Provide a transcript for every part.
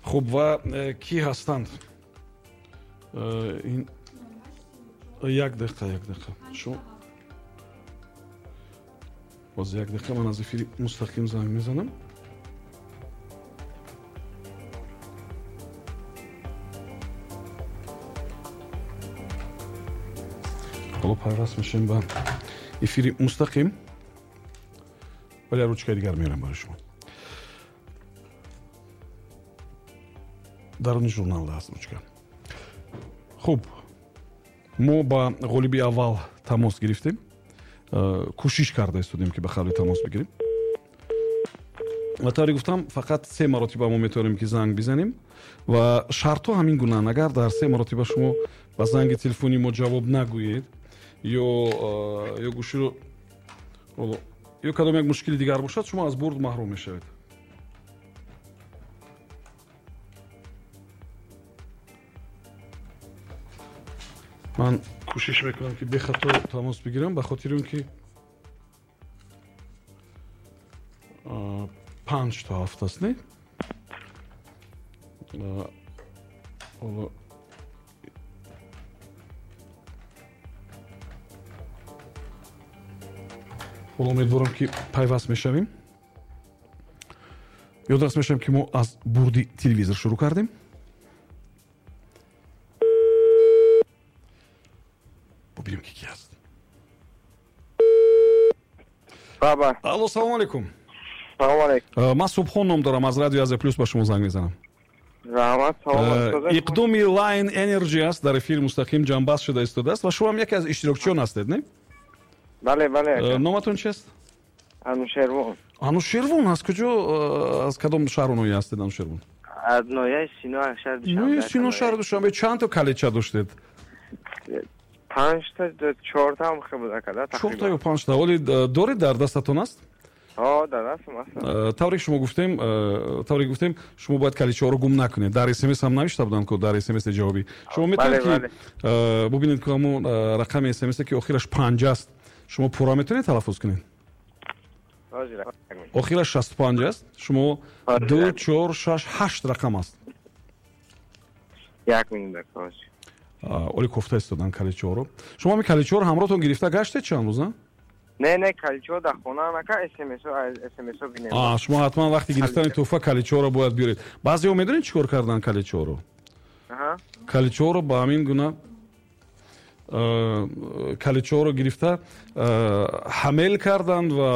Хуб, ва кӣ ҳастанд? Як дақиқа, як дақиқа, шумо боз як дақиқа, ман аз эфири мустақим занг мезанам. Ҳоло пайваст мешавем ба эфири мустақим, вале ручкаи дигар меорам барои шумо. Даруни журнал аст ручка. Хуб, мо ба ғолиби аввал тамос гирифтем, кӯшиш карда истодем, ки ба қавли тамос бигирем, ва тавре гуфтам, фақат се маротиба мо метавонем, ки занг бизанем, ва шартҳо ҳамин гунаанд: агар дар се маротиба шумо ба занги телефони мо ҷавоб нагӯед ё гӯширо ё кадом як мушкили дигар бошад, шумо аз бурд маҳрум мешавед. Ман кӯшиш мекунам, ки бехато тамос бигирам, ба хотири он ки 6:55 аст, не? Ҳоло умедворам, ки пайваст мешавем. Ёдрас мешавем, ки мо аз бурди телевизор шурӯъ кардем. Бубинем, ки ки аст. Алло, салому алейкум. Салому алейкум. Ман Субҳон ном дорам, аз радио Азия Плюс ба шумо занг мезанам. Раҳмат, саломат. Иқдоми Line Energy аст, дар эфири мустақим ҷамъбаст шуда истодааст, ва шумо ҳам яке аз иштирокчиён ҳастед, не? Бале, бале. Номатон чист? Анушервон. Анушервон, аз куҷо, аз кадом шаҳру ноҳия ҳастед, Анушервон? Аз ноҳияи Сино, шаҳри Душанбе. Ноҳияи Сино, шаҳри Душанбе. Чанд то калидча доштед? Панҷта, чорта ҳам хел буд, ака, тақрибан. Чорта ё панҷта. Ҳоли доред, дар дастатон аст? Ҳо, дар дастам аст. Тавре шумо гуфтем, тавре гуфтем, шумо бояд калидчаҳоро гум накунед. Дар СМС ҳам навишта буданд, ку дар СМС ҷавобӣ. Шумо метавонед, ки бубинед, ки ҳамон рақами СМС, ки охираш панҷ аст, шумо пурра метавонед талаффуз кунед? Охираш 65 аст. Шумо ду, чор, шаш, ҳашт рақам аст. Як минут. Оли кофта истодан калидчаҳоро. Шумо ҳамин калидчаҳоро ҳамроҳтон гирифта гаштед чанд рӯз, на? Не, не, калидчаҳо дар хона, ака, СМСо бинем. Шумо ҳатман вақти гирифтани тӯҳфа калидчаҳоро бояд биёред. Баъзеҳо медонед, чӣ кор карданд калидчаҳоро? Калидчаҳоро ба ҳамин гуна калидчаҳоро гирифта ҳамел карданд ва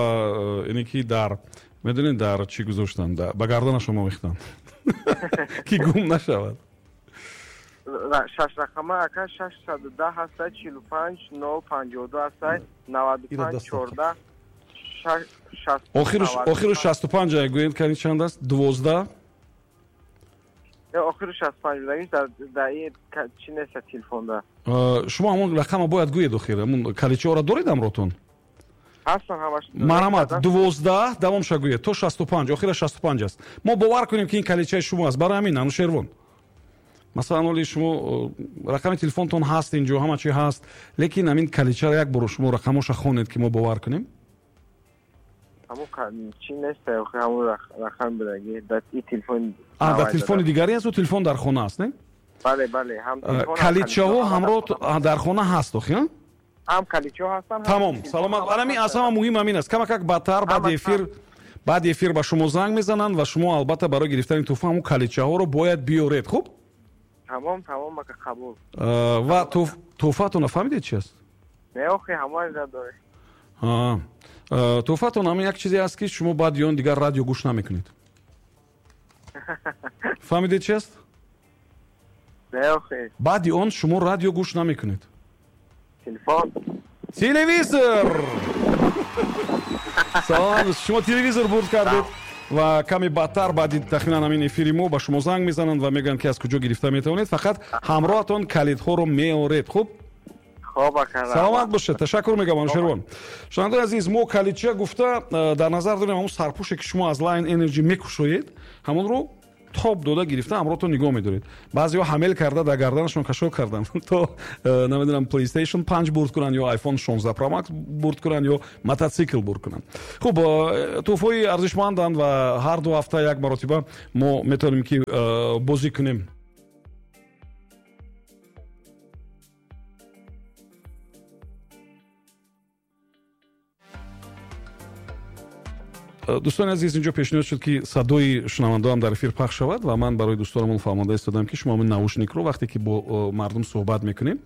ине ки дар, медонед, дар чӣ гузоштанд, ба гарданашон овехтанд, ки гум нашавад. Шаш рақама, ака, 610 ҳастай, 45 0 52 ҳастай, 95 14. Охиру 65 гӯед, кани чанд аст? 12. Охиру 65 дар чӣ неста телефонда. Шумо ҳамон рақама бояд гӯед охир. Ҳамон калидчаҳоро доред ҳамроҳтон? Ҳастан ҳамаш. Марҳамат, 12 давомша гӯед то 65, охира 65 аст. Мо бовар кунем, ки ин калидчаи шумо аст. Барои ҳамин, Анушервон, масалан, оли шумо рақами телефонтон ҳаст, инҷо ҳама чи ҳаст, лекин ҳамин калидчаро як боро шумо рақамоша хонед, ки мо бовар кунем. Чи нест, ҳамон рақам будаги дар телефон. Дар телефони дигаре аст, телефон дар хона аст, не? Бале, бале. Калидчаҳо ҳамроҳ дар хона ҳаст охи? Ҳам калидчаҳо ҳастанд. Тамом, саломат. Анами аз ҳама муҳим ҳамин аст. Камакак баъдтар, баъди эфир ба шумо занг мезананд, ва шумо албатта барои гирифтани тӯҳфа ҳамон калидчаҳоро бояд биёред, хуб? Тамом, тамом, ака, қабул. Ва тӯҳфаатонро фаҳмидед, чи аст? Не, охи, ҳамаи доред. Тӯҳфаатон ҳамин як чизе аст, ки шумо баъди он дигар радио гӯш намекунед. Фаҳмидед, чи аст? Не, охи. Баъди он шумо радио гӯш намекунед. Телефон. Телевизор. Салом, шумо телевизор бурд кардед, ва каме баъдтар, баъди тахминан ҳамин эфири мо, ба шумо занг мезананд ва мегӯянд, ки аз куҷо гирифта метавонед. Фақат ҳамроҳатон калидҳоро меоред, хуб? Саломат бошед, ташаккур мегӯям, Анушервон. Шунавандаи азиз, мо калидча гуфта дар назар дорем ҳамон сарпӯше, ки шумо аз Line Energy мекушоед, ҳамонро тоб дода гирифта ҳамроҳтон нигоҳ медоред. Баъзеҳо ҳамел карда дар гарданашон кашол карданд, то намедонам, PlayStation 5 бурд кунанд ё iPhone 16 Pro Max бурд кунанд ё мототсикл бурд кунанд. Хуб, тӯҳфаҳои арзишманданд ва ҳар 2 ҳафта як маротиба мо метавонем ки бозӣ кунем. Дӯстони азиз, инҷо пешниҳод шуд, ки садои шунавандаам дар эфир пахш шавад ва ман барои дӯстонамон фаҳмонда истодам, ки шумо ҳамин наушникро вақте ки бо мардум суҳбат мекунем,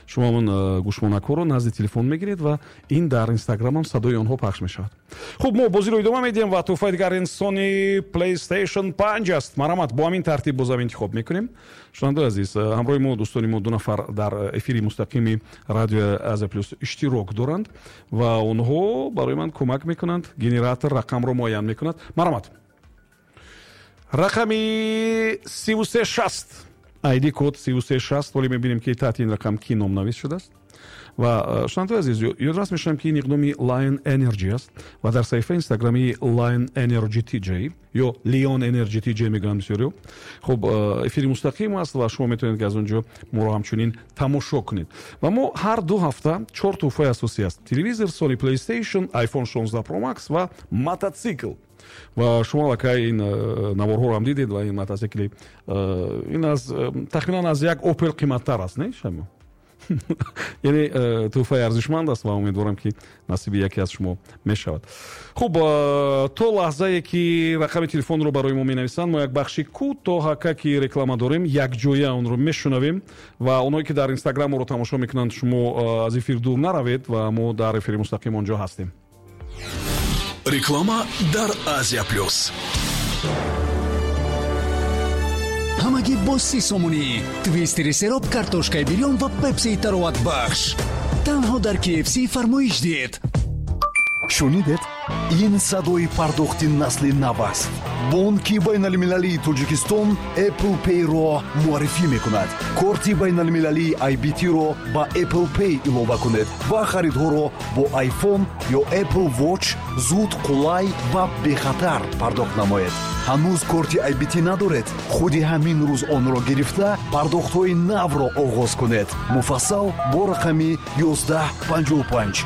шумо ҳамон гӯшмонакҳоро назди телефон мегиред ва ин дар инстаграмам садои онҳо пахш мешавад. Хуб, мо бозиро идома медиҳем ва тӯҳфаи дигар ин Sony PlayStation 5 аст. Марҳамат, бо ҳамин тартиб бозам интихоб мекунем. Шунавандаи азиз, ҳамроҳи мо дӯстони мо 2 нафар дар эфири мустақими радиои Азия Плюс иштирок доранд ва онҳо барои ман кӯмак мекунанд. Генератор рақамро муайян мекунад. Марҳамат, рақами 3360, ID код 3360. Ҳоле мебинем, ки таҳти ин рақам ки номнавис шудааст. Ва шунавандаи азиз, ёдрас мешавам, ки ин иқдоми Lion Energy аст ва дар саҳифаи инстаграмии Lion Energy TJ ё Leon Energy TJ мегӯянд бисёриҳо. Хуб, эфири мустақим аст ва шумо метавонед, ки аз он ҷо моро ҳамчунин тамошо кунед. Ва мо ҳар 2 ҳафта 4 тӯҳфаи асосӣ аст: телевизор, Sony PlayStation, iPhone 16 Pro Max ва мототсикл. Ва шумо аллакай ин наворҳоро ҳам дидед ва ин мототсикли ин аз тахминан аз як Opel қиматтар аст, не шумо? Яъне тӯҳфаи арзишманд аст ва умедворам, ки насиби яке аз шумо мешавад. Хуб, то лаҳзае ки рақами телефонро барои мо менависанд, мо як бахши кӯтоҳака ки реклама дорем, якҷоя онро мешунавем ва онҳое ки дар инстаграм моро тамошо мекунанд, шумо аз эфир дур наравед ва мо дар эфири мустақим он ҷо ҳастем. Реклама дар Азия Плюс. Ҳамагӣ бо 30 сомонӣ твистери сероб, картошкаи бирён ва пепсии тароватбахш танҳо дар KFC фармоиш диҳед. Шунидед? Ин садои пардохти насли нав аст. Бонки байналмилалии Тоҷикистон Apple Pay-ро муаррифӣ мекунад. Корти байналмилалии IBT-ро ба Apple Pay илова кунед ва харидҳоро бо iPhone ё Apple Watch зуд, қулай ва бехатар пардохт намоед. Ҳанӯз корти IBT надоред? Худи ҳамин рӯз онро гирифта, пардохтҳои навро оғоз кунед. Муфассал бо рақами 1155.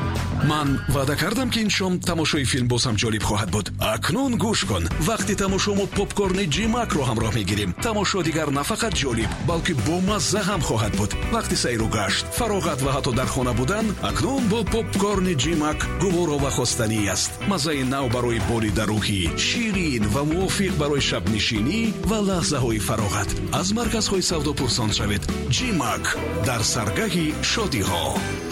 Ман ваъда кардам, ки ин шом тамошои филм боз ҳам ҷолиб хоҳад буд. Акнун гӯш кун, вақти тамошо мо попкорни Ҷимакро ҳамроҳ мегирем. Тамошо дигар на фақат ҷолиб, балки бомазза ҳам хоҳад буд. Вақти сайру гашт, фароғат ва ҳатто дар хона будан акнун бо попкорни Ҷимак гуворо ва хостанӣ аст. Маззаи нав барои болида рӯҳӣ, ширин ва мувофиқ барои шабнишинӣ ва лаҳзаҳои фароғат. Аз марказҳои савдо пурсон шавед. Ҷимак дар саргаҳи шодиҳо.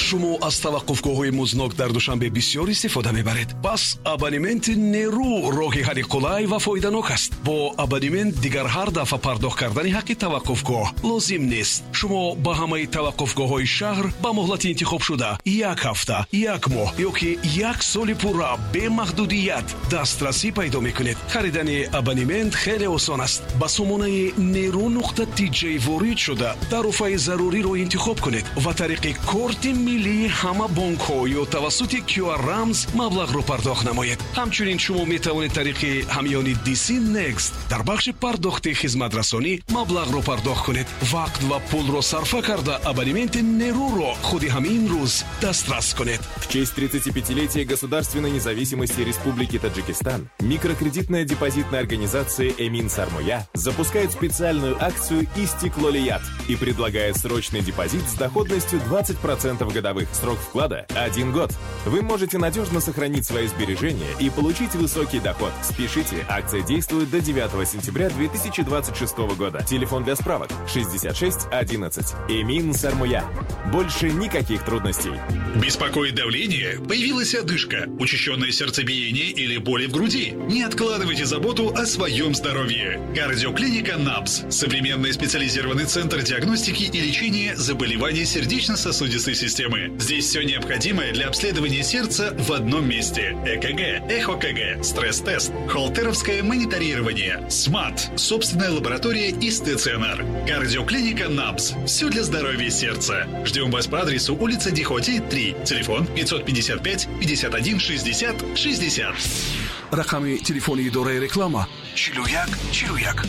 Шумо аз таваққуфгоҳҳои музнок дар Душанбе бисёр истифода мебаред. Пас абонементи Нерӯ роҳи ҳалли қулай ва фоиданок аст. Бо абонемент дигар ҳар дафъа пардохт кардани ҳаққи таваққуфгоҳ лозим нест. Шумо ба ҳамаи таваққуфгоҳҳои шаҳр ба муҳлати интихобшуда як ҳафта, як моҳ ё ки як соли пурра бемаҳдудият дастрасӣ пайдо мекунед. Харидани абонемент хеле осон аст. Ба сомонаи Нерӯ нуқта тиҷ ворид шуда, тарофаи заруриро интихоб кунед ва тариқи корти миллии ҳама бонкҳо ё тавассути QR рамз маблағро пардохт намоед. Ҳамчунин шумо метавонед тариқи ҳамёни DC Next дар бахши пардохти хизматрасонӣ маблағро пардохт кунед. Вақт ва пулро сарфа карда, абонементи Нерӯро худи ҳамин рӯз дастрас кунед. В честь 35-летия государственной независимости Республики Таджикистан микрокредитная депозитная организация «Эмин Сармоя» запускает специальную акцию «Истиклолият» и предлагает срочный депозит с доходностью 20% годовых. Срок вклада – 1 год. Вы можете надежно сохранить свои сбережения и получить высокий доход. Спешите, акция действует до 9 сентября 2026 года. Телефон для справок 66 11. «Эмин Сармоя». Больше никаких трудностей. Беспокоит давление? Появилась одышка, учащенное сердцебиение или боли в груди? Не откладывайте заботу о своем здоровье. Кардиоклиника НАПС. Современный специализированный центр диагностики и лечения заболеваний сердечно-сосудистой системы. Здесь все необходимое для обследования сердца в одном месте. ЭКГ, ЭХОКГ, стресс-тест, холтеровское мониторирование, СМАТ, собственная лаборатория и стационар. Кардиоклиника НАПС. Все для здоровья сердца. Ждем вас по адресу улица Дихоти, 3. Телефон 555 51 60 60. Рақами телефони идораи реклама 41 41.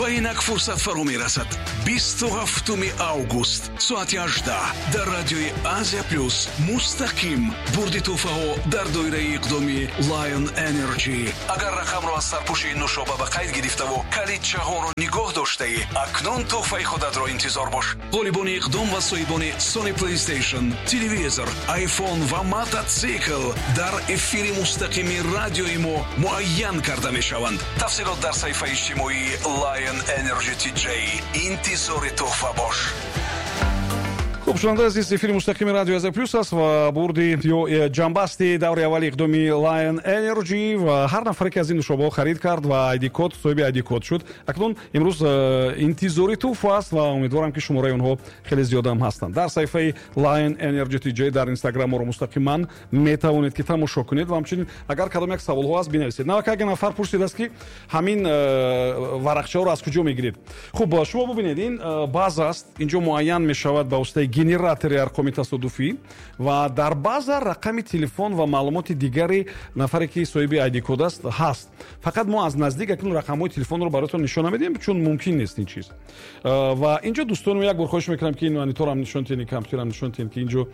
Ва инак фурсат фаро мерасад. 27 август соати 18 дар радиои Азия Плюс мустақим бурди тӯҳфаҳо дар доираи иқдоми Lion Energy. Агар рақамро аз сарпӯши нӯшоба ба қайд гирифтаву калидчаҳоро нигоҳ доштаӣ, акнун тӯҳфаи худатро интизор бош. Ғолибони иқдом ва соҳибони Sony PlayStation, телевизор, iPhone ва мототсикл дар эфири мустақими радиои мо муайян карда мешаванд. Тафсилот дар саҳифаи иҷтимоии Lion Energy TJ. Интизори тӯҳфа бош. Хуб, шунавандаи азиз, эфири мустақими радио Азия Плюс аст ва бурди ё ҷамъбасти даври аввали иқдоми Lion Energy ва ҳар нафаре ки аз ин нӯшобаҳо харид кард ва ID код, соҳиби ID код шуд, акнун имрӯз интизори тӯҳфа аст ва умедворам ки шумораи онҳо хеле зиёдам ҳастанд. Дар саҳифаи Lion Energy TJ дар Instagram моро мустақиман метавонед ки тамошо кунед ва ҳамчунин агар кадом як саволҳо аст бинависед. Навака як нафар пурсидааст ки ҳамин варақчаҳоро аз куҷо мегиред. Хуб, шумо бубинед, ин база аст, инҷо муайян мешавад ба воситаи генератори арқоми тасодуфӣ ва дар база рақами телефон ва маълумоти дигари нафаре ки соҳиби ID код аст ҳаст. Фақат мо аз наздик акнун рақамҳои телефонро бароятон нишон намедиҳем, чун мумкин нест ин чиз. Ва инҷо дӯстони мо як бор хоҳиш мекунам ки ин мониторам нишон диҳед, ин компютерам нишон диҳед ки инҷо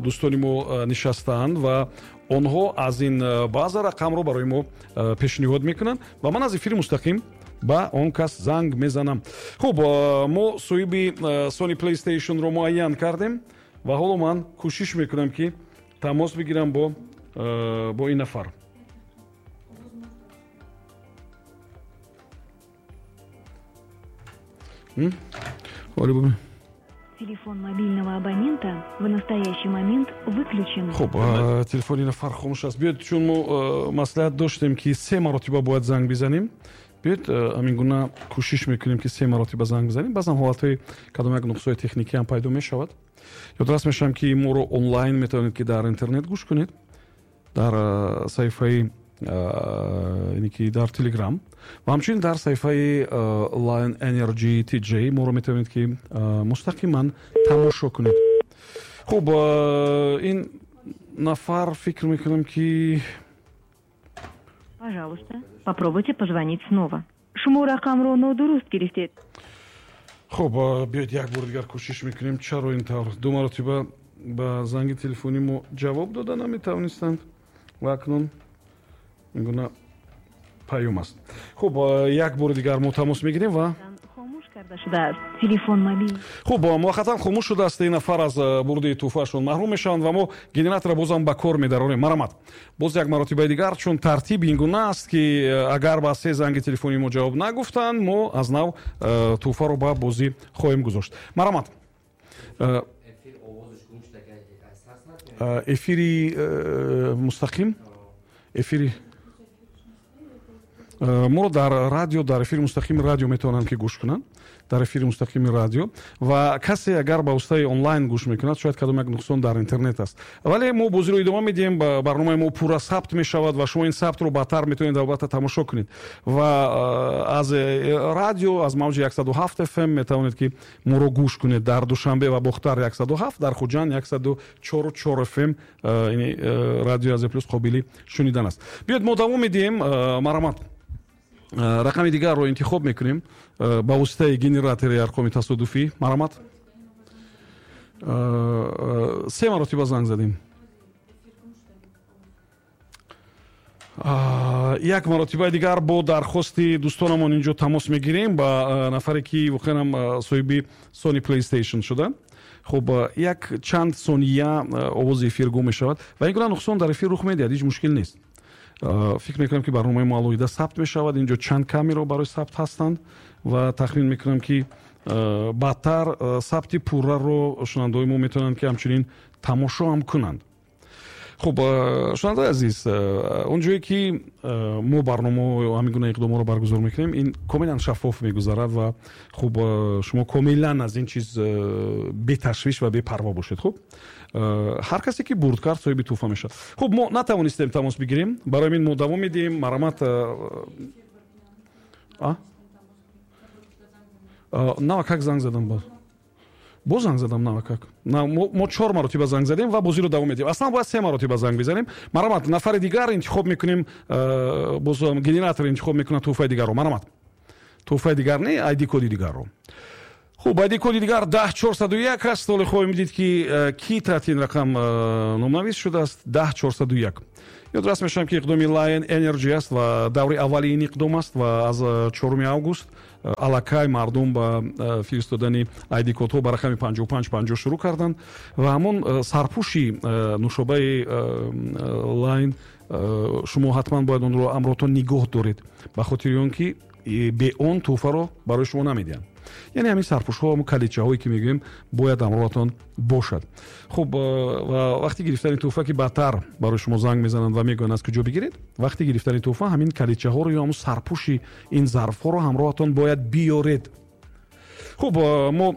дӯстони мо нишастаанд ва онҳо аз ин база рақамро барои мо пешниҳод мекунанд ва ман аз эфири мустақим ба он кас занг мезанам. Хуб, мо соҳиби Sony PlayStation-ро муайян кардем ва ҳоло ман кӯшиш мекунам ки тамос бигирам бо ин нафар. Телефон мобильного абонента в настоящий момент выключен. Хуб, телефони нафар хомӯш аст. Биёед, чун мо маслиҳат доштем ки се маротиба бояд занг бизанем, биёед ҳамин гуна кӯшиш мекунем ки се маротиба занг бизанем. Баъзан ҳолатҳои кадом як нуқсҳои техникӣ ҳам пайдо мешавад. Ёдрас мешавам ки моро онлайн метавонед ки дар интернет гӯш кунед, дар саҳифаи яъне ки дар Telegram ва ҳамчунин дар саҳифаи Lion Energy TJ моро метавонед ки мустақиман тамошо кунед. Хуб, ин нафар фикр мекунам ки Пожалуйста, попробуйте позвонить снова. Шумо рақамро нодуруст гирифтед. Хуб, биёед як бор дигар кӯшиш мекунем. Чаро ин тавр? Ду маротиба ба занги телефонӣ мо ҷавоб дода наметавонистанд ва акнун ин гуна паём аст. Хуб, як бори дигар мо тамос мегирем ва карда шудааст. Телефон мобил. Хуб, муваққатан хомӯш шудааст. Ин нафар аз бурди тӯҳфаашон маҳрум мешаванд ва мо генераторро бозам ба кор медарорем. Марамат. Боз як маротибаи дигар, чун тартиб ин гуна аст ки агар ба се занги телефонии мо ҷавоб нагуфтанд, мо аз нав тӯҳфаро ба бозӣ хоҳем гузошт. Марамат. Эфири мустақим, эфири моро дар радио, дар эфири мустақими радио метавонанд ки гӯш кунанд, дар эфири мустақими радио. Ва касе агар ба воситаи онлайн гӯш мекунад, шояд кадом як нуқсон дар интернет аст. Вале мо бозиро идома медиҳем, барномаи мо пурра сабт мешавад ва шумо ин сабтро баъдтар метавонед албатта тамошо кунед. Ва аз радио, аз мавҷи 107 FM метавонед ки моро гӯш кунед дар Душанбе ва Бохтар 107, дар Хуҷанд 104.4 FM, яъне радио Азия Плюс қобили шунидан аст. Биёед мо давом медиҳем. Марамат. Рақами дигарро интихоб мекунем ба воситаи генератори арқоми тасодуфӣ. Марамат. Се маротиба занг задем. Як маротибаи дигар бо дархости дӯстонамон инҷо тамос мегирем ба нафаре ки воқеан ҳам соҳиби Sony PlayStation шуда. Хуб, як чанд сония овози эфир гум мешавад ва ин гуна нуқсон дар эфир рух медиҳад, ҳеҷ мушкил нест. Фикр мекунам ки барномаи мо алоҳида сабт мешавад. Инҷо чанд камеро барои сабт ҳастанд ва тахмин мекунам ки баъдтар сабти пурраро шунавандаҳои мо метавонанд ки ҳамчунин тамошо ҳам кунанд. Хуб, шунавандаи азиз, он ҷое ки мо барнома ҳамин гуна иқдомҳоро баргузор мекунем, ин комилан шаффоф мегузарад ва хуб, шумо комилан аз ин чиз беташвиш ва бепарво бошед. Хуб, ҳар касе ки бурд кард соҳиби тӯҳфа мешавад. Хуб, мо натавонистем тамос бигирем, барои ҳамин мо давом медиҳем. Марамат. Навак как занг задам боз. Боз занг задам навакак. Мо 4 маротиба занг задем ва бозиро давом медиҳем. Аслан бояд 3 маротиба занг бизанем. Марамат, нафари дигар интихоб мекунем, боз генератор интихоб мекунад тӯҳфаи дигарро. Марамат, тӯҳфаи дигар не, ID коди дигарро. Хуб, ID коди дигар 10401 аст. Ҳоло хоҳем дид, ки ки таҳти ин рақам номнавис шудааст. 10401. Ёдрас мешавам, ки иқдоми Lion Energy аст ва даври аввали ин иқдом аст ва аз 4 август аллакай мардум ба фиристодани ID кодҳо ба рақами 5550 шурӯъ карданд ва ҳамон сарпӯши нушобаи Lion шумо ҳатман бояд онро амротон нигоҳ доред, ба хотири он ки бе он тӯҳфаро барои шумо намедиҳанд. Яъне ҳамин сарпӯшҳо, ҳамон калидчаҳое ки мегӯем, бояд ҳамроҳатон бошад. Хуб, ва вақти гирифтани тӯҳфа, ки баъдтар барои шумо занг мезананд ва мегӯянд аз куҷо бигиред, вақти гирифтани тӯҳфа ҳамин калидчаҳоро ё ҳамон сарпӯши ин зарфҳоро ҳамроҳатон бояд биёред. Хуб, мо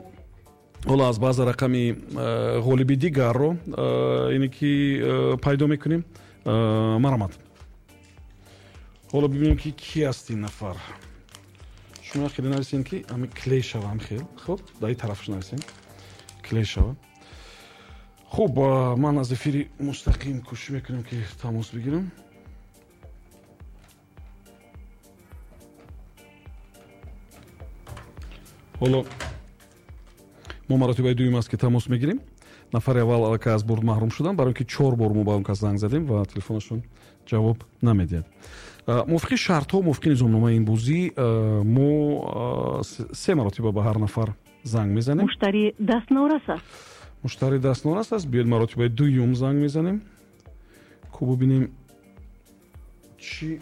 ҳоло аз баъза рақами ғолиби дигарро ине ки пайдо мекунем. Марамат, ҳоло бибинем, ки ки аст ин нафар. Шумо хеле нависем, ки ами клей шава, хел. Хуб, дар ин тарафаш нависем, клей шава. Хуб, ман аз эфири мустақим кӯшиш мекунем, ки тамос бигирам. Ҳоло мо маротибаи дуюм аст, ки тамос мегирем. Нафари аввал аллакай аз бурд маҳрум шудам, барои ки 4 бор мо ба он кас занг задем ва телефонашон ҷавоб намедиҳад. Мувофиқи шартҳо, мувофиқи низомномаи ин бозӣ, мо 3 маротиба ба ҳар нафар занг мезанем. Муштари дастнорас аст. Муштари дастнорас аст. Биёед маротибаи дуюм занг мезанем. Ку бубинем чӣ.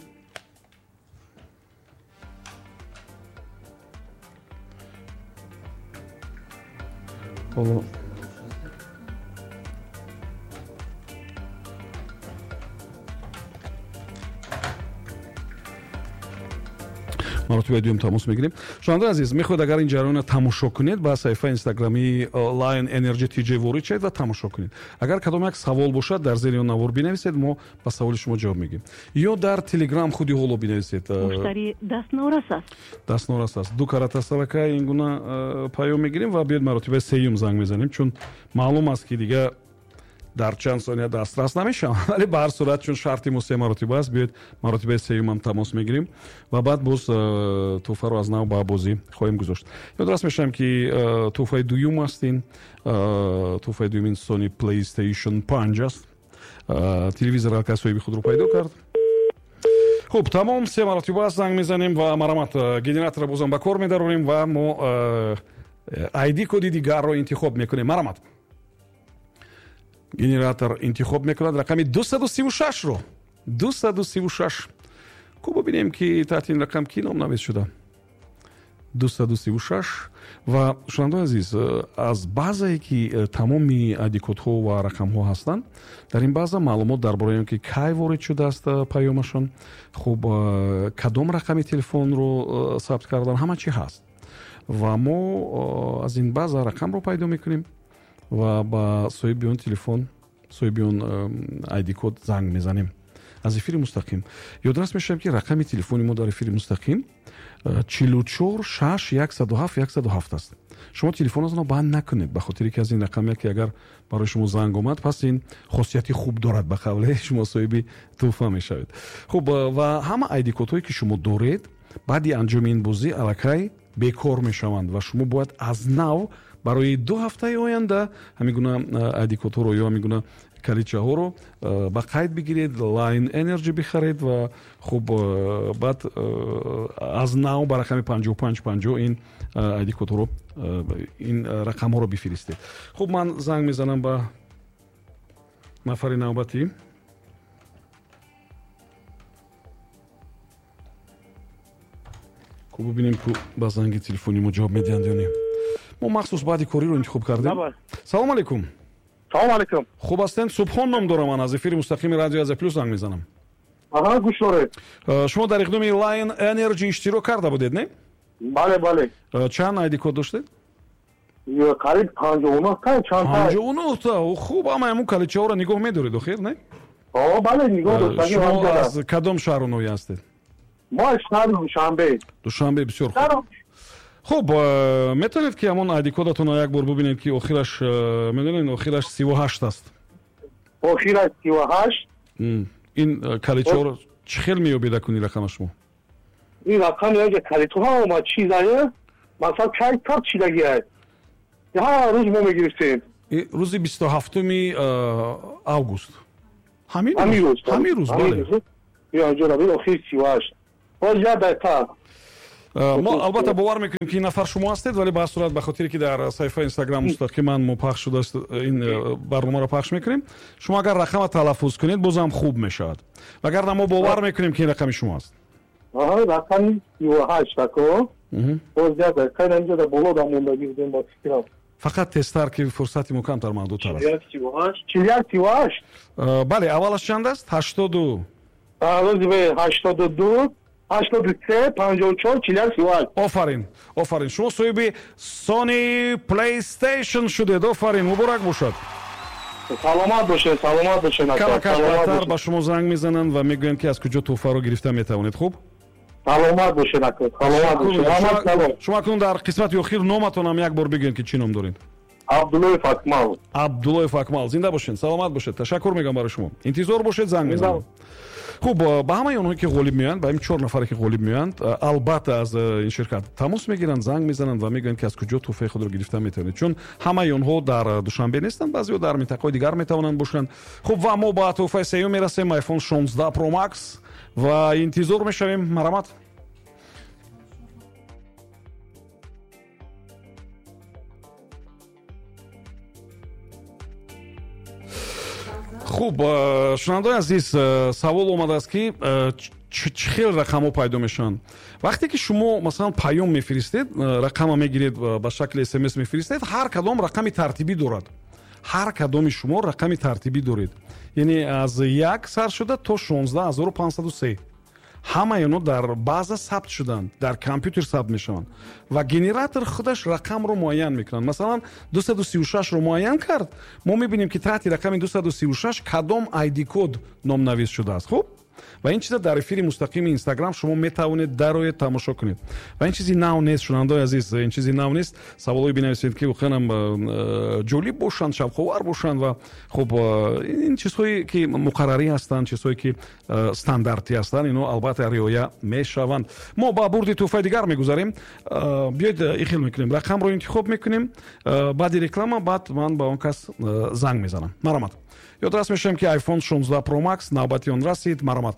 Ҳоло маротибаи дуюм тамос мегирем. Шунавандаи азиз, мехоҳед агар ин ҷараёнро тамошо кунед, ба саҳифаи инстаграмии Lion Energy TJ ворид шавед ва тамошо кунед. Агар кадом як савол бошад, дар зери он навор бинависед, мо ба саволи шумо ҷавоб мегӯем. Ё дар Телеграм худи ҳоло бинависед. Муштари дастнорас аст. Дастнорас аст. 2 карата аллакай ин гуна паём мегирем ва биёед маротибаи сеюм занг мезанем, чун маълум аст, ки дига дар чанд сония дастрас намешавам, вале ба ҳар сурат, чун шарти мо 3 маротиба аст, биёед маротибаи сеюмам тамос мегирем ва баъд боз тӯҳфаро аз нав ба бозӣ хоҳем гузошт. Ёдрас мешавам, ки тӯҳфаи дуюм аст ин. Тӯҳфаи дуюм ин Sony PlayStation 5 аст. Телевизор аллакай соҳиби худро пайдо кард. Хуб, тамом, 3 маротиба занг мезанем ва марамат, генераторро бозам ба кор медарорем ва мо ID коди дигарро интихоб мекунем. Марамат, генератор интихоб мекунад рақами 236-ро. 236. Ку бубинем, ки таҳти ин рақам ки номнавис шуда. 236. Ва шунавандаи азиз, аз баъзае ки тамоми ID кодҳо ва рақамҳо ҳастанд, дар ин баъза маълумот дар бораи он ки кай ворид шудааст паёмашон, хуб, кадом рақами телефонро сабт кардан, ҳама чӣ ҳаст. Ва мо аз ин баъза рақамро пайдо мекунем ва ба соҳиби он телефон, соҳиби он ID код занг мезанем аз эфири мустақим. Ёдрас мешавам, ки рақами телефони мо дар эфири мустақим 44 6 107 107 аст. Шумо телефонатонро банд накунед, ба хотире ки аз ин рақам яке агар барои шумо занг омад, пас ин хосияти хуб дорад, ба қавле шумо соҳиби тӯҳфа мешавед. Хуб, ва ҳама ID кодҳое ки шумо доред, баъди анҷоми ин бозӣ аллакай бекор мешаванд ва шумо бояд аз нав барои 2 ҳафтаи оянда ҳамин гуна ID кодҳоро ё ҳамин гуна калидчаҳоро ба қайд бигиред, Lion Energy бихаред ва хуб, баъд аз нав ба рақами 5550 ин ID кодҳоро, ин рақамҳоро бифиристед. Хуб, ман занг мезанам ба нафари навбатӣ. Ку бубинем, ку ба занги телефони мо ҷавоб медиҳанд ё не. Мо махсус баъди кориро интихоб кардем. Салом алейкум. Салом алейкум. Хуб ҳастед? Субҳон ном дорам, ман аз эфири мустақими радио Азия Плюс занг мезанам. Аҳа, гӯш доред. Шумо дар иқдоми Lion Energy иштирок карда будед, не? Бале, бале. Чанд ID код доштед? Қариб 59 та, чанд та. 59 та. Хуб, ама ҳамун калидчаҳоро нигоҳ медоред охир, не? О, бале, нигоҳ доштагӣ. Шумо аз кадом шаҳру ноҳия ҳастед? Мо аз шаҳри Душанбе. Душанбе, бисёр хуб. Хуб, метавонед ки ҳамон айди кодатонро як бор бубинед, ки охираш, медонед, охираш 38 аст. Охираш 38. Ин калидчаҳоро чӣ хел меёбед акун ин рақама шумо? Ин рақам яке калидҳо омад, чизае, масалан, кай сабт шидагиай, ҳар рӯз мо мегирифтем. Рӯзи 27 август, ҳамин рӯз, бале. Охир 38, боз як дақиқа. Мо албатта бовар мекунем, ки ин нафар шумо ҳастед, вале ба ҳар сурат, ба хотире ки дар саҳифаи Инстаграм мустақиман мо пахш шудааст, ин барномаро пахш мекунем, шумо агар рақама талаффуз кунед, бозам хуб мешавад, вагарна мо бовар мекунем, ки ин рақами шумо аст. Рақами 38 ако, боз як дақиқа, инҷо дар боло дамондагӣ будем, ба фикрам. Фақат тезтар, ки фурсати мо камтар, маҳдудтар аст. 41 38. Бале, аввалаш чанд аст? 82. 82, 83, 54, 41, 38. Офарин, офарин, шумо соҳиби Sony PlayStation шудед. Офарин, муборак бошад. Саломат бошед, саломат бошед. Камакаш баъдтар ба шумо занг мезананд ва мегӯянд, ки аз куҷо тӯҳфаро гирифта метавонед. Хуб. Саломат бошед, ако, саломат бошед. Шумо акнун дар қисмати охир номатонам як бор бигӯед, ки чӣ ном доред. Абдуллоев Акмал. Абдуллоев Акмал, зинда бошед, саломат бошед. Ташаккур мегӯям барои шумо, интизор бошед, занг мезанам. Хуб, ба ҳамаи онҳое ки ғолиб меоянд, ба ин чор нафаре ки ғолиб меоянд, албатта аз ин ширкат тамос мегиранд, занг мезананд ва мегӯянд, ки аз куҷо тӯҳфаи худро гирифта метавонед, чун ҳамаи онҳо дар Душанбе нестанд, баъзеҳо дар минтақаҳои дигар метавонанд бошанд. Хуб, ва мо ба тӯҳфаи сеюм мерасем, iPhone 16 Pro Max, ва интизор мешавем. Марҳамат. Хуб, шунавандаои азиз, савол омадааст, ки чӣ хел рақамҳо пайдо мешаванд. Вақте ки шумо, масалан, паём мефиристед, рақама мегиред, ба шакли СМС мефиристед, ҳар кадом рақами тартибӣ дорад. Ҳар кадоми шумо рақами тартибӣ доред, яъне аз як сар шуда то 16503. Ҳамаи онҳо дар база сабт шуданд, дар компютер сабт мешаванд ва генератор худаш рақамро муайян мекунад. Масалан, 236-ро муайян кард, мо мебинем, ки таҳти рақами 236 кадом ID код номнавис шудааст. Хуб, ва ин чиза дар эфири мустақими Инстаграм шумо метавонед дароед, тамошо кунед. Ва ин чизи нав нест, шунавандаои азиз, ин чизи нав нест. Саволҳое бинависед, ки воқеан ҷолиб бошанд, шавқовар бошанд. Ва хуб, ин чизҳое ки муқаррарӣ ҳастанд, чизҳое ки стандартӣ ҳастанд, ино албатта риоя мешаванд. Мо ба бурди тӯҳфаи дигар мегузарем. Биёед, ихел мекунем, рақамро интихоб мекунем баъди реклама, баъд ман ба он кас занг мезанам. Марҳамат. Ёдрас мешавем, ки iPhone 16 Pro Max навбати он расид. Марҳамат.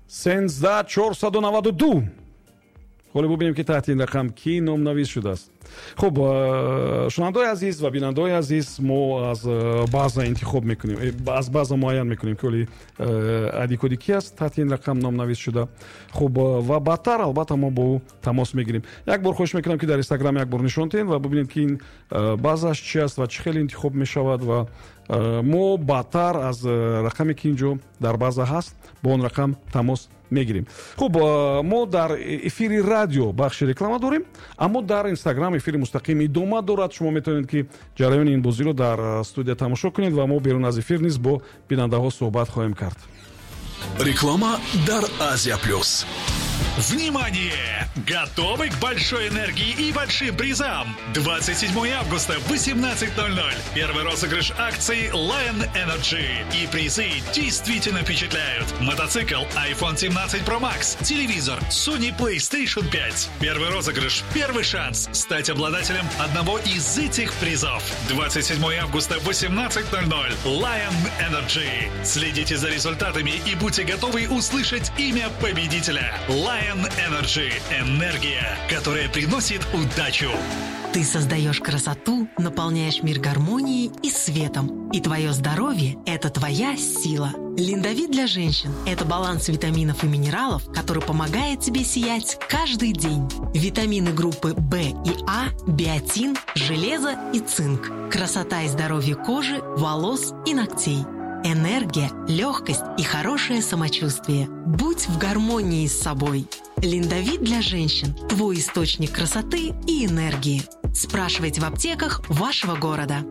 13492. Ҳоло бубинем, ки таҳти ин рақам кӣ номнавис шудааст. Хуб, шунавандаои азиз ва бинандаои азиз, мо аз база интихоб мекунем, аз база муайян мекунем, ки оли ID коди ки аст таҳти ин рақам номнавис шуда. Хуб, ва баъдтар албатта мо бо ӯ тамос мегирем. Як бор хоҳиш мекунам, ки дар Инстаграм як бор нишон диҳед ва бубинед, ки ин базаш чи аст ва чӣ хеле интихоб мешавад. Ва мо баъдтар аз рақаме, ки инҷо дар база ҳаст, бо он рақам тамос мегирем. Хуб, мо дар эфири радио бахши реклама дорем, аммо дар Инстаграм эфири мустақим идома дорад. Шумо метавонед, ки ҷараёни ин бозиро дар студия тамошо кунед ва мо берун аз эфир низ бо бинандаҳо суҳбат хоҳем кард. Реклама дар Азия Плюс. Внимание! Готовы к большой энергии и большим призам? 27 августа, 18:00. Первый розыгрыш акции Lion Energy. И призы действительно впечатляют. Мотоцикл iPhone 17 Pro Max, телевизор Sony PlayStation 5. Первый розыгрыш, первый шанс стать обладателем одного из этих призов. 27 августа, 18:00. Lion Energy. Следите за результатами и будьте готовы услышать имя победителя. Lion Energy. Энергия, которая приносит удачу. Ты создаешь красоту, наполняешь мир гармонией и светом. И твое здоровье – это твоя сила. Линдовит для женщин – это баланс витаминов и минералов, который помогает тебе сиять каждый день. Витамины группы В и А, биотин, железо и цинк. Красота и здоровье кожи, волос и ногтей. Энергия, легкость и хорошее самочувствие. Будь в гармонии с собой. Линдовит для женщин – твой источник красоты и энергии. Спрашивайте в аптеках вашего города.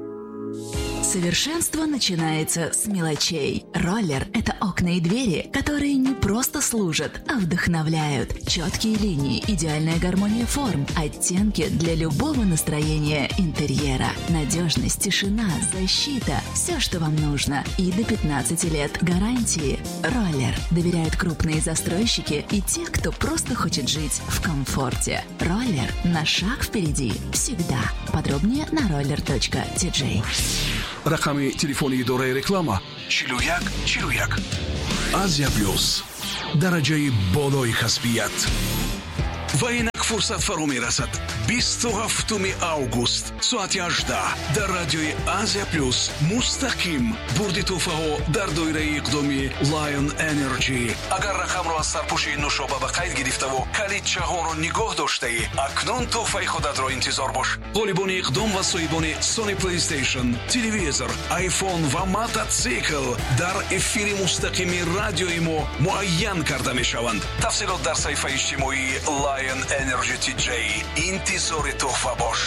Совершенство начинается с мелочей. Роллер – это окна и двери, которые не просто служат, а вдохновляют. Четкие линии, идеальная гармония форм, оттенки для любого настроения интерьера. Надежность, тишина, защита – все, что вам нужно. И до 15 лет гарантии. Роллер доверяют крупные застройщики и те, кто просто хочет жить в комфорте. Роллер на шаг впереди всегда. Подробнее на roller.tj. Рақами телефони идораи реклама 41 41. Азия Плюс. Дараҷаи болои касбият. Ва инак фурсат фаро мерасад. 27 август соати 18 дар радиои Азия Плюс мустақим бурди тӯҳфаҳо дар доираи иқдоми Lion Energy. Агар рақамро аз сарпӯши нӯшоба ба қайд гирифтаву калидчаҳоро нигоҳ доштаӣ, акнун тӯҳфаи худатро интизор бош. Ғолибони иқдом ва соҳибони Sony PlayStation, телевизор, iPhone ва мототсикл дар эфири мустақими радиои мо муайян карда мешаванд. Тафсилот дар саҳифаи иҷтимоии Lion Energy TJ. Интизори тӯҳфа бош.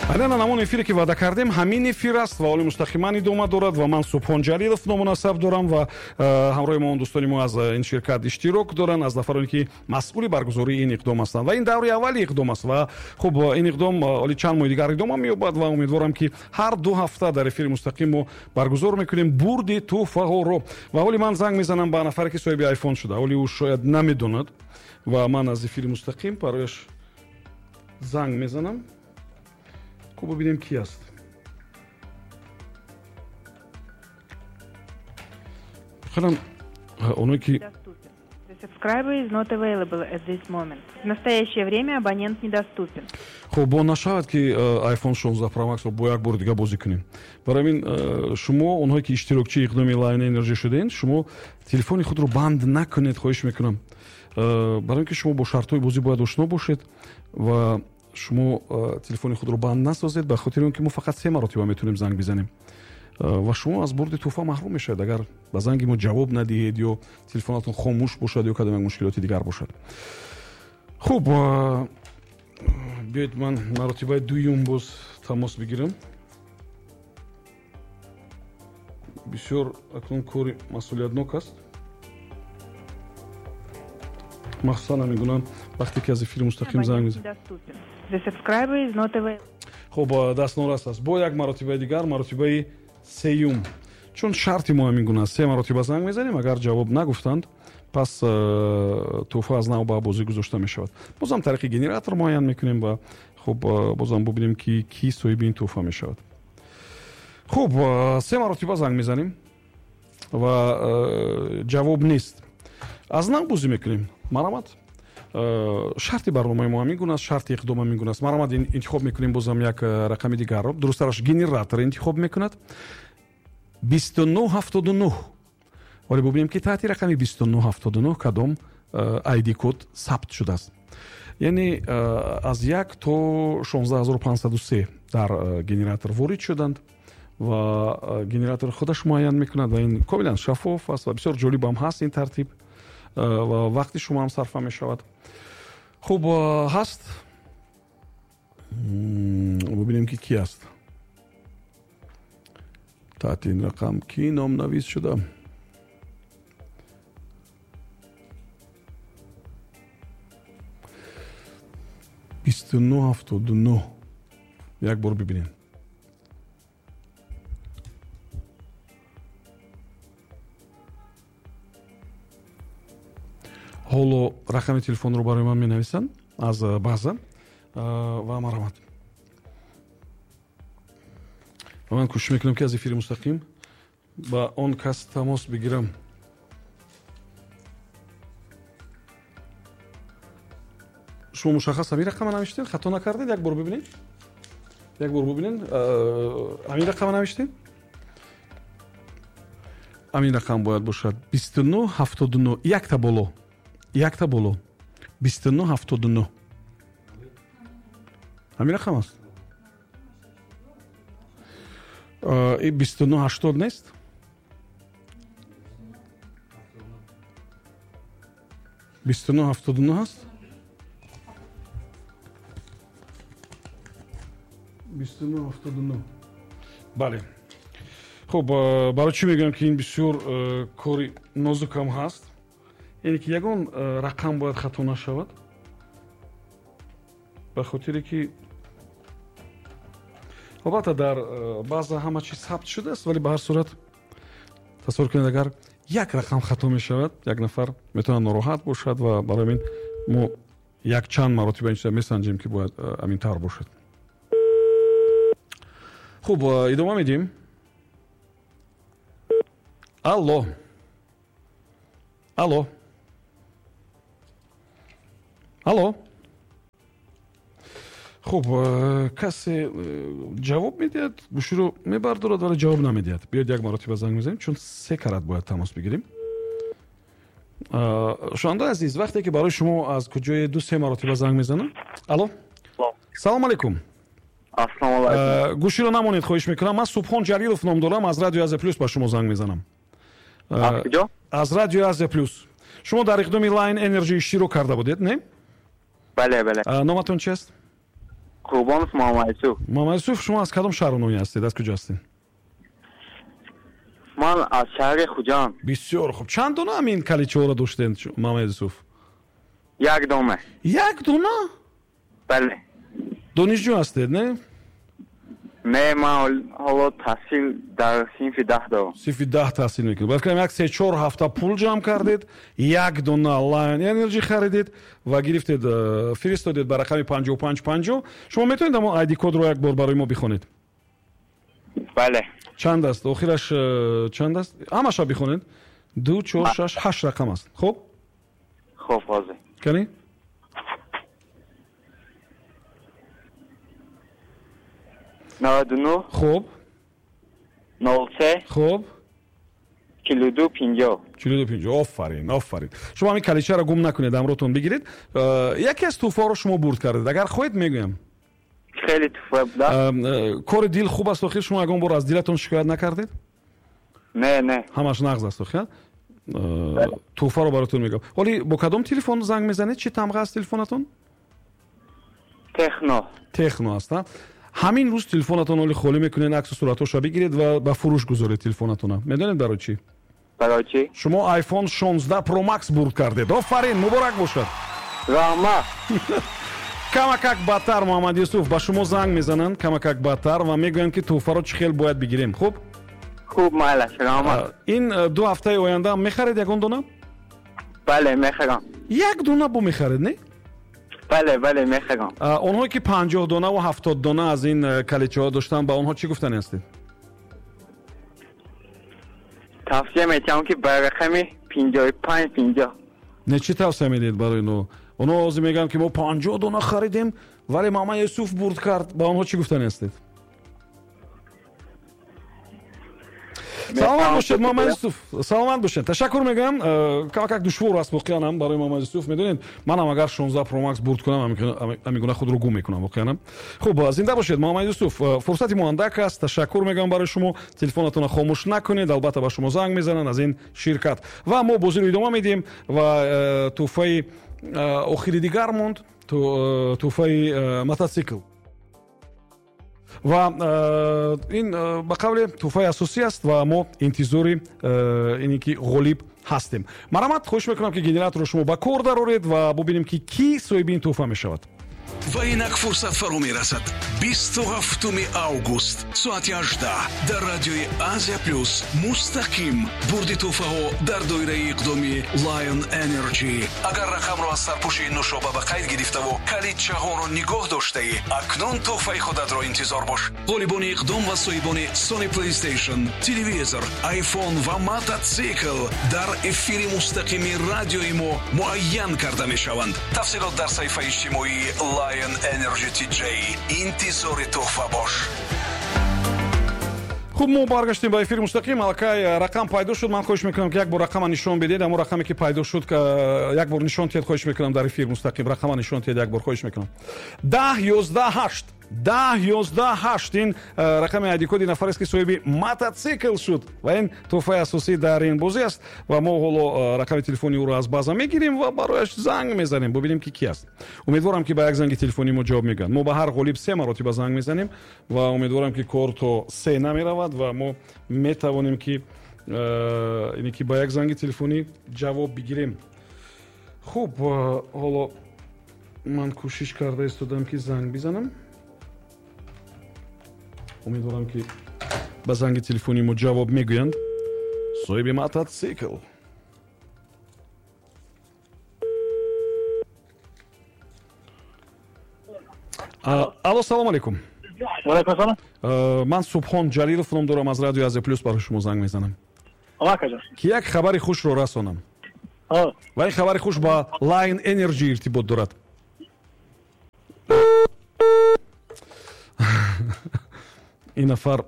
Айнан ҳамон эфире ки ваъда кардем, ҳамин эфир аст ва ҳоли мустақиман идома дорад ва ман Субҳон Ҷалилов ному насаб дорам ва ҳамроҳи мо он дӯстони мо аз ин ширкат иштирок доранд, аз нафароне ки масъули баргузории ин иқдом ҳастанд ва ин даври аввали иқдом аст ва хуб ин иқдом ҳоли чанд моҳи дигар идома меёбад ва умедворам ки ҳар ду ҳафта дар эфири мустақим мо баргузор мекунем бурди тӯҳфаҳоро. Ва ҳоли ман занг мезанам ба нафаре ки соҳиби айфон шуда, ҳоли ӯ шояд намедонад ва ман аз эфири мустақим барояш занг мезанам. Хуб, бибинем ки аст. Хелам оное ки хуб бо нашавад ки iPhone 16 Pro Max-ро бо як бори дига бозӣ кунем. Барои ҳамин шумо онҳое ки иштирокчии иқдоми Lion Energy шудаед, шумо телефони худро банд накунед, хоҳиш мекунам. Барои ин ки шумо бо шартҳои бозӣ бояд ошно бошед ва шумо телефони худро банд насозед, ба хотири он ки мо фақат се маротиба метавонем занг бизанем ва шумо аз бурди тӯҳфа маҳрум мешавед, агар ба занги мо ҷавоб надиҳед ё телефонатон хомӯш бошад ё кадом як мушкилоти дигар бошад. Хуб, биёед ман маротибаи дуюм боз тамос бигирам. Бисёр акнун кори масъулиятнок аст, махсусан ҳамин гуна вақте ки аз эфири мустақим занг мезанем. Хуб, дастнорас аст. Бо як маротибаи дигар, маротибаи сеюм, чун шарти мо ҳамин гуна аст, се маротиба занг мезанем, агар ҷавоб нагуфтанд, пас тӯҳфа аз нав ба бозӣ гузошта мешавад. Бозам тариқи генератор муайян мекунем ва хуб бозам бубинем ки ки соҳиби ин тӯҳфа мешавад. Хуб, се маротиба занг мезанем ва ҷавоб нест. Аз нав бозӣ мекунем. Марамат, шарти барномаи мо ҳамин гуна аст, шарти иқдом ҳамин гуна аст. Марамат, интихоб мекунем бозам як рақами дигарро, дурусттараш генератор интихоб мекунад. 2979. Вале бубинем ки таҳти рақами 2979 кадом ID код сабт шудааст. Яъне аз 1 то 16503 дар генератор ворид шуданд ва генератор худаш муайян мекунад ва ин комилан шаффоф аст ва бисёр ҷолиб ҳам ҳаст ин тартиб ва вақти шумо ҳам сарфа мешавад. Хуб, ҳаст, бубинем ки ки аст. Таҳти ин рақам ки номнавис шуда? 2979. Як бор бибинем. Ҳоло рақами телефонро барои ман менависанд аз база ва марҳамат. Ва ман кӯшиш мекунам ки аз эфири мустақим ба он кас тамос бигирам. Шумо мушаххас ҳамин рақама навиштед? Хато накардед? Як бор бибинед. Як бор бибинед. Ҳамин рақама навиштед? Ҳамин рақам бояд бошад 2979. Якта боло. Якта боло. 2979. Ҳамин рақам аст? 2980 нест? 2979 аст? 2979. Бале. Хуб, барои чӣ мегӯям, ки ин бисёр кори нозукам ҳаст, яъне ки ягон рақам бояд хато нашавад, ба хотире ки албатта дар баъза ҳама чиз сабт шудааст, вале ба ҳар сурат тасаввур кунед, агар як рақам хато мешавад, як нафар метавонад нороҳат бошад, ва барои ҳамин мо якчанд маротиба ин чиза месанҷем, ки бояд аминтар бошад. Хуб, идома медиҳем. Алло, алло, алло. Хуб, касе ҷавоб медиҳад, гӯширо мебардорад, вале ҷавоб намедиҳад. Биёед, як маротиба занг мезанем, чун се карат бояд тамос бигирем. Шунавандаи азиз, вақте ки барои шумо аз куҷое ду се маротиба занг мезанам. Алло, салому алайкум. Ассалому алайкум. Гӯширо намонед, хоҳиш мекунам. Ман Субҳон Ҷалилов ном дорам, аз Радиои Азия Плюс ба шумо занг мезанам. Аз куҷо? Аз Радиои Азия Плюс. Шумо дар иқдоми Lion Energy иштирок карда будед, не? Бале, бале. Номатон чи аст? Қурбонов Муҳаммадюсуф. Муҳаммадюсуф, шумо аз кадом шаҳру ноҳия ҳастед, аз куҷо ҳастед? Ман аз шаҳри Хуҷанд. Бисёр хуб. Чанд дона ҳамин калидчаҳоро доштед, Муҳаммадюсуф? Як дона. Як дона? Бале. Донишҷӯ ҳастед, не? Не, ман ҳоло таҳсил дар синфи 10 дорам. Синфи 10 таҳсил мекунед. Бояд кунем, як 3-4 ҳафта пул ҷамъ кардед, як дона Lion Energy харидед ва гирифтед, фиристодед ба рақами 5550. Шумо метавонед ҳамон ID кодро як бор барои мо бихонед? Бале. Чанд аст? Охираш чанд аст? Ҳамаша бихонед. 2, 4, 6, 8 рақам аст. Хуб? Хуб, ҳозир. Кани? 99. Хуб. 03. Хуб. 42 50. 42 50. Офарин, офарин. Шумо ҳамин калидчаро гум накунед, ҳамроҳтон бигиред. Яке аз тӯҳфаҳоро шумо бурд кардед. Агар хоҳед, мегӯям. Хеле тӯҳфа буда. Кори дил хуб аст. Охир шумо ягон бор аз дилатон шикоят накардед? Не, не. Ҳамаш нағз аст охир. Тӯҳфаро баротон мегӯям. Ҳоли бо кадом телефон занг мезанед? Чӣ тамға аст телефонатон? Техно. Техно аст, ҳамин рӯз телефонатон ҳоли холӣ мекунед, аксу суратҳоша бигиред ва ба фурӯш гузоред телефонатона. Медонед барои чӣ? Барои чӣ? Шумо iPhone 16 Pro Max бурд кардед. Офарин, муборак бошад. Раҳмат. Камакак бадтар, Муҳаммад Юсуф, ба шумо занг мезананд камакак бадтар ва мегӯянд, ки тӯҳфаро чӣ хел бояд бигирем. Хуб? Хуб, майлаш, раҳмат. Ин 2 ҳафтаи оянда мехаред ягон дона? Бале, мехарам. Як дона бо мехаред, не? Бале, бале, мехарам. Онҳое ки 50 дона ва 70 дона аз ин калидчаҳо доштанд, ба онҳо чӣ гуфтани ҳастед? Тавсия метиҳам, ки ба рақами 55 50. Не, чӣ тавсия медиҳед барои инҳо? Онҳо ҳозир мегӯянд, ки мо 50 дона харидем, вале Мама Юсуф бурд кард. Ба онҳо чӣ гуфтани ҳастед? Саломат бошед, Муҳаммад Юсуф, саломат бошед. Ташаккур мегӯям. Камакак душвор аст воқеан барои Муҳаммад Юсуф. Медонед, манам агар 16 Pro Max бурд кунам, ҳамин гуна худро гум мекунам воқеан. Хуб, зинда бошед, Муҳаммад Юсуф. Фурсати мо андак аст. Ташаккур мегӯям барои шумо. Телефонатонро хомӯш накунед, албатта ба шумо занг мезананд аз ин ширкат. Ва мо бозиро идома медиҳем ва тӯҳфаи охири дигар монд, тӯҳфаи мотосикл. Ва ин ба қавле тӯҳфаи асосӣ аст ва мо интизори ине ки ғолиб ҳастем. Марҳамат, хоҳиш мекунам, ки генераторро шумо ба кор дароред ва бубинем, ки кӣ соҳиби ин тӯҳфа мешавад. Ва инак фурсат фаро мерасад. 27 август соати 18 дар радиои Азия Плюс мустақим бурди тӯҳфаҳо дар доираи иқдоми Lion Energy. Агар рақамро аз сарпӯши нӯшоба ба қайд гирифтаву калидчаҳоро нигоҳ доштаӣ, акнун тӯҳфаи худатро интизор бош. Ғолибони иқдом ва соҳибони Sony PlayStation, телевизор, iPhone ва мототсикл дар эфири мустақими радиои мо муайян карда мешаванд. Тафсилот дар саҳифаи иҷтимоии Lion Energy TJ. Интизори тӯҳфа бош. Хуб, мо баргаштем ба эфири мустақим. Аллакай рақам пайдо шуд. Ман хоҳиш мекунам, ки як бор рақама нишон бидед. Ҳамон рақаме ки пайдо шуд, як бор нишон диҳед, хоҳиш мекунам, дар эфир мустақим рақама нишон диҳед, як бор, хоҳиш мекунам. 10 11 8. 10 11 8 ин рақами айдикоди нафарест, ки соҳиби мототсикл шуд ва ин тӯҳфаи асосӣ дар ин бозӣ аст. Ва мо ҳоло рақами телефони ӯро аз база мегирем ва барояш занг мезанем, бубинем, ки ки аст. Умедворам, ки ба як занги телефонии мо ҷавоб мегӯянд. Мо ба ҳар ғолиб се маротиба занг мезанем ва умедворам, ки кор то се намеравад ва мо метавонем, ки ине ки ба як занги телефонӣ ҷавоб бигирем. Хуб, ҳоло ман кӯшиш карда истодам, ки занг бизанам. Умедворам, ки ба занги телефонии мо ҷавоб мегӯянд соҳиби мототсикл. Алло, салом алейкум. Ман Субҳон Ҷалилов ном дорам, аз радиои Азия Плюс барои шумо занг мезанам, ки як хабари хушро расонам. Ва ин хабари хуш ба Line Energy иртибот дорад. Ин нафар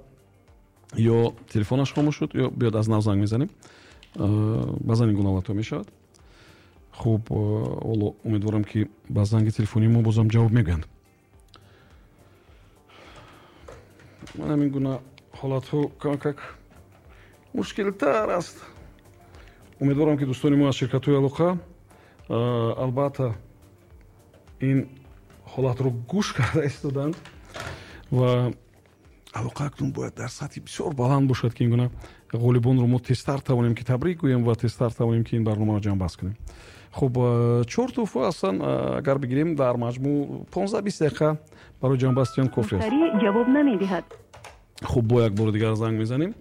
ё телефонаш хомӯш шуд, ё биёд, аз нав занг мезанем. Баъзан ин гуна ҳолатҳо мешавад. Хуб, ҳоло умедворам, ки ба занги телефонии мо бозам ҷавоб мегӯянд. Ман ҳамин гуна ҳолатҳо камакак мушкилтар аст. Умедворам, ки дӯстони мо аз ширкатҳои алоқа албатта ин ҳолатро гӯш карда истоданд ва алоқа акнун бояд дар сатҳи бисёр баланд бошад, ки ин гуна ғолибонро мо тезтар тавонем, ки табрик гӯем ва тезтар тавонем, ки ин барномаро ҷамъбаст кунем. Хуб, чор тӯҳфа ҳастанд. Агар бигирем, дар маҷмӯъ 15-20 дақиқа барои ҷамъбасти он кофӣ аст. Ҷавоб намедиҳад. Хуб, бо як бори дигар занг мезанем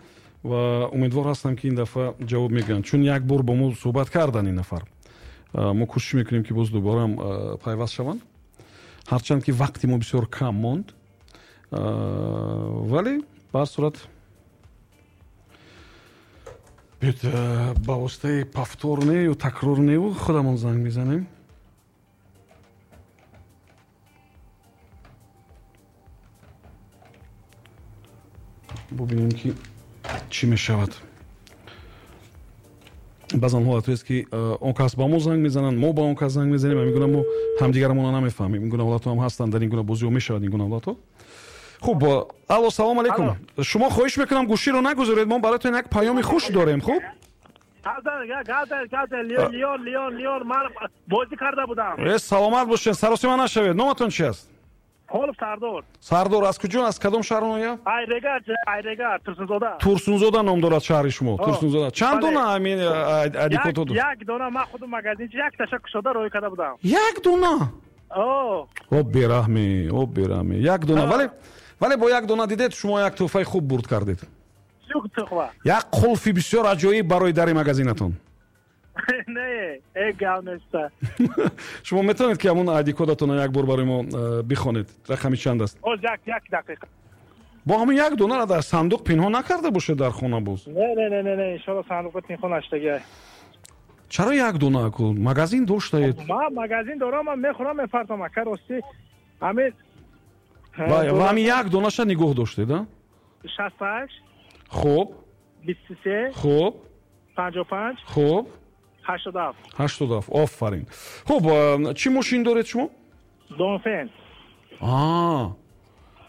ва умедвор ҳастам, ки ин дафъа ҷавоб мегӯянд, чун як бор бо мо суҳбат кардан ин нафар. Мо кӯшиш мекунем, ки боз дубораам пайваст шаванд, ҳарчанд ки вақти мо бисёр кам монд, вале ба ҳар сурат биёд, ба воситаи повтор нею такрор нею худамон занг мезанем. Бубинем, ки чӣ мешавад. Баъзан ҳолатҳоест, ки он кас ба мо занг мезананд, мо ба он кас занг мезанем, ҳамин гуна мо ҳамдигарамонро намефаҳмем. Ин гуна ҳолатҳо ҳам ҳастанд, дар ин гуна бозиҳо мешавад ин гуна ҳолатҳо. Хуб, алло, салом алейкум. Шумо, хоҳиш мекунам, гӯширо нагузоред, мо бароятон як паёми хуш дорем. Хуб, бозӣ карда будам. Саломат бошед, саросима нашавед. Номатон чи аст? Холов Сардор. Сардор, аз куҷо, аз кадом шаҳру ноҳия? Айрегар, Айрегар, Турсунзода. Турсунзода ном дорад шаҳри шумо. Турсунзода. Чанд дона ҳамин айдикодҳо дошт? Як дона. Ман худам магазинчи як таша кушода рӯй карда будам. Як дона? О, бераҳмӣ, о, бераҳмӣ, як дона. Вале бо як дона, дидед, шумо як тӯҳфаи хуб бурд кардед, як қулфи бисёр аҷоиб барои дари магазинатон. Не, э гап неста. Шумо метавонед, ки ҳамон айди кодатонро як бор барои мо бихонед? Рақами чанд аст? Оз, як дақиқа. Бо ҳамин як донаро дар сандуқ пинҳон накарда бошед дар хона боз? Не, не, не, не, не, иншоалло, сандуқро пинҳон нашудагиай. Чаро як дона? Ку магазин доштаед. Ман магазин дорам, ман мехӯрам, мефартам, ака, ростӣ ҳамин. Ва ҳамин як донаша нигоҳ доштед, а? 68. Хуб. 23. Хуб. 55. Хуб. 87. 87. Офарин. Хуб, чӣ мошин доред шумо? Донфен.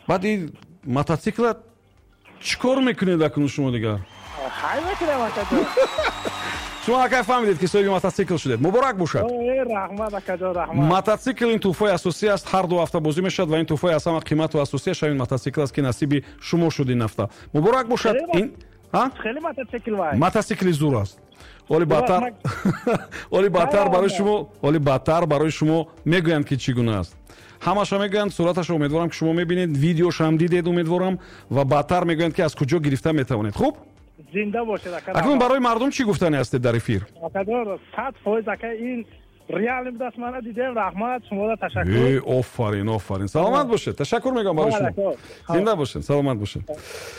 Баъд ин мототсикла чӣ кор мекунед акнун шумо дигар? Хай мекунам, акаҷон. Шумо акай фаҳмидед, ки соҳиби мототсикл шудед. Муборак бошад. Раҳмат, акаҷон, раҳмат. Мототсикл ин тӯҳфаи асосӣ аст, ҳар ду ҳафта бозӣ мешавад ва ин тӯҳфаи аз ҳама қимату асосиаш ҳамин мототсикл аст, ки насиби шумо шуд ин ҳафта. Муборак бошад. Ин хеле мототсикл вай. Мототсикли зур аст. Оли баъдтар барои шумо, оли баъдтар барои шумо мегӯянд, ки чӣ гуна аст. Ҳамаша мегӯянд, сураташа умедворам, ки шумо мебинед, видеошам дидед, умедворам, ва баъдтар мегӯянд, ки аз куҷо гирифта метавонед. Хуб, зинда бошед, ака. Акнун барои мардум чӣ гуфтане ҳастед дар эфир? Акаҷон, 100%, ака, ин реально будаст, мана дидем. Раҳмат шуморо, ташаккур. Э, офарин, офарин, саломат бошед. Ташаккур мегӯям барои шумо, зинда бошед, саломат бошед.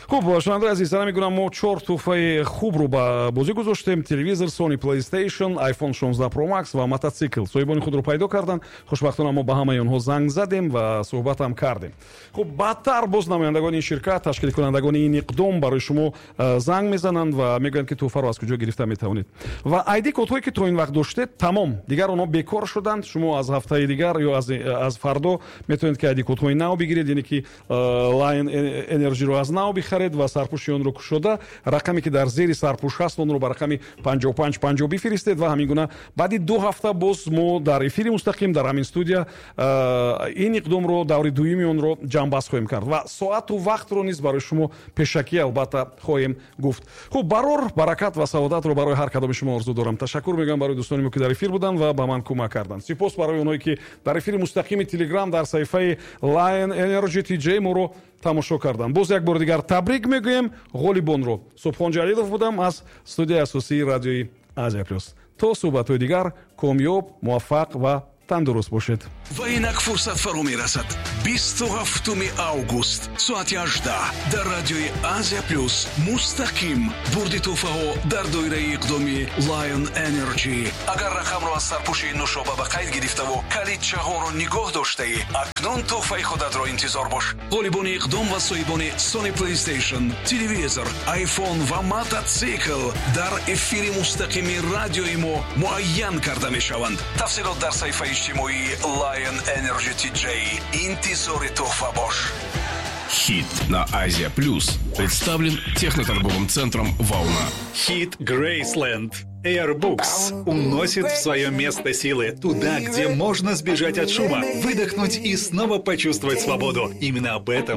Хуб, шунавандаи азиз, сара мегӯям, мо чор тӯҳфаи хубро ба бозӣ гузоштем: телевизор Sony PlayStation, iPhone 16 Pro Max ва мототсикл. Соҳибони худро пайдо карданд. Хушбахтона, мо ба ҳамаи онҳо занг задем ва суҳбатам кардем. Хуб, баъдтар боз намояндагони ин ширкат, ташкилкунандагони ин иқдом барои шумо занг мезананд ва мегӯянд, ки тӯҳфаро аз куҷо гирифта метавонед. Ва айди кодҳое, ки то ин вақт доштед, тамом, дигар онҳо. Барнома бекор шуданд. Шумо аз ҳафтаи дигар ё аз фардо метавонед, ки айди-кодҳои нав бигиред, яъне ки Lion Energy-ро аз нав бихаред ва сарпӯши онро кушода, рақаме ки дар зери сарпӯш ҳаст, онро ба рақами 5550 бифиристед. Ва ҳамин гуна баъди 2 ҳафта боз мо дар эфири мустақим дар ҳамин студия ин иқдомро, даври дуюми онро ҷамъбаст хоҳем кард ва соату вақтро низ барои шумо пешакӣ албатта хоҳем гуфт. Хуб, барор, баракат ва саодатро барои ҳар кадоми шумо орзу дорам. Ташаккур мегӯям барои дӯстони мо, ки дар эфир буданд ва ба ман кӯмак карданд. Сипос барои онҳое, ки дар эфири мустақими Телеграм дар саҳифаи Lion Energy TJ моро тамошо карданд. Боз як бори дигар табрик мегӯем ғолибонро. Субҳон Ҷалилов будам аз студияи асосии радиои Азия Плюс. То суҳбатҳои дигар комёб, муваффақ ва тандуруст бошед. Ва инак фурсат фаро мерасад: 27 август, соати 18, дар радиои Азия Плюс мустақим бурди тӯҳфаҳо дар доираи иқдоми Lion Energy. Агар рақамро аз сарпӯши нушоба ба қайд гирифтаву калидчаҳоро нигоҳ доштаӣ, акнун тӯҳфаи худатро интизор бош. Ғолибони иқдом ва соҳибони Sony PlayStation, телевизор, iPhone ва мототсикл дар эфири мустақими радиои мо муайян карда мешаванд. Тафсилот дар саҳифаи иҷтимоии Lion Energy TJ. Интизори тӯҳфа бош. Хит на Азия Плюс представлен техноторговым центром «Волна». Хит Грейсленд. Airbooks уносит в свое место силы, туда, где можно сбежать от шума, выдохнуть и снова почувствовать свободу. Именно об этом